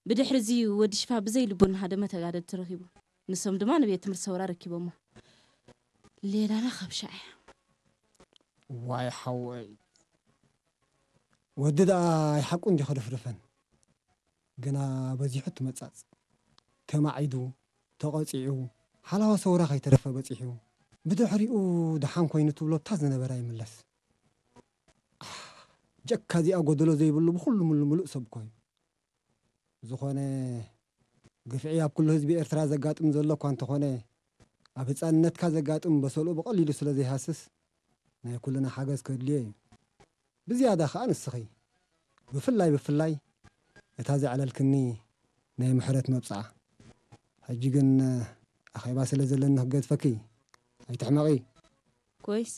ብድሕሪ እዚ ወዲ ሽፋ ብዘይ ልቡ እናሃደመ ተጋደልቲ ረኺቡ። ንሶም ድማ ንቤት ትምህርቲ ሰውራ ረኪቦሞ። ሌላና ከብሻ እያ። ዋይ ሓወይ፣ ወዲ ደኣ ኣይሓቁ እንዲ ከደፍደፈን፣ ግና በዚሑ ትመጻጽ። ተማዒዱ፣ ተቐጺዑ፣ ሓላዋ ሰውራ ከይተረፈ በጺሑ፣ ብድሕሪኡ ደሓን ኮይኑ ትብሎ እታ ዝነበረ ኣይምለስ። ኣሕ፣ ጀካ እዚኣ ጎደሎ ዘይብሉ ብኹሉ ምሉ ምሉእ ሰብ እኮ እዩ። ዝኾነ ግፍዒ ኣብ ኩሉ ህዝቢ ኤርትራ ዘጋጥም ዘሎ እኳ እንተኾነ፣ ኣብ ህጻንነትካ ዘጋጥም በሰልኡ ብቐሊሉ ስለ ዘይሃስስ ናይ ኩልና ሓገዝ ከድልዮ እዩ። ብዝያዳ ከኣ ንስኺ ብፍላይ ብፍላይ እታ ዘዕለልክኒ ናይ ምሕረት መብጽዓ። ሕጂ ግን ኣኼባ ስለ ዘለኒ ክገድፈኪ፣ ኣይትሕመቒ። ኮይስ